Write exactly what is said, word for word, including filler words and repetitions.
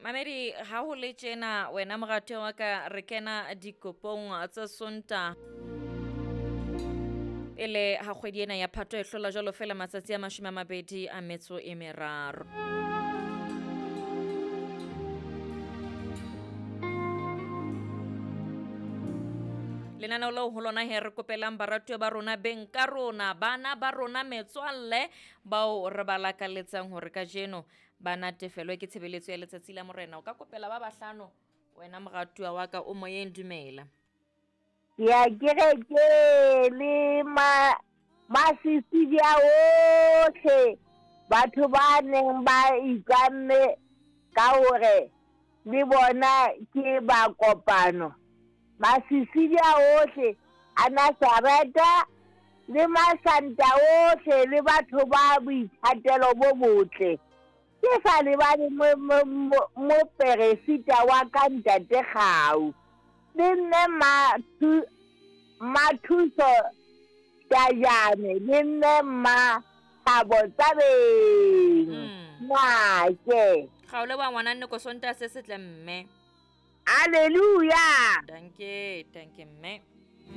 Mamedi ha ho le tjena wena moratuwa wa ka re kena dikopong tsa Sontaha. Pele ha kgwedi ena ya Phato e hlola jwalo fela matsatsi a mashome a mabedi a metso e meraro. Lenaneo leo ho lona he re kopelang baratuwa ba rona, beng ka rona, bana ba rona, metswalle bao re ba lakaletsang hore kajeno ba natefelwe ke tshebeletso ya letsatsi la morena. O ka kopela ba bahlano wena moratuwa wa ka o moyeng, dumela. Ya kereke le ma masisidia ohle, batho ba neng ba ikanne ka hore le bona ke ba kopano. Masisidia ohle a Nazareta le masanta ohle le batho ba boithatelo bo botle. Ke sa lebale moperesita wa ka ntate Kgau. Le mme Mathuso Tajane, le mme Mmathabo Tsabeng. Make. Ga o leboha ngwana nne ko Sontaha se setle mme. Hallelujah. Danke, danke mme.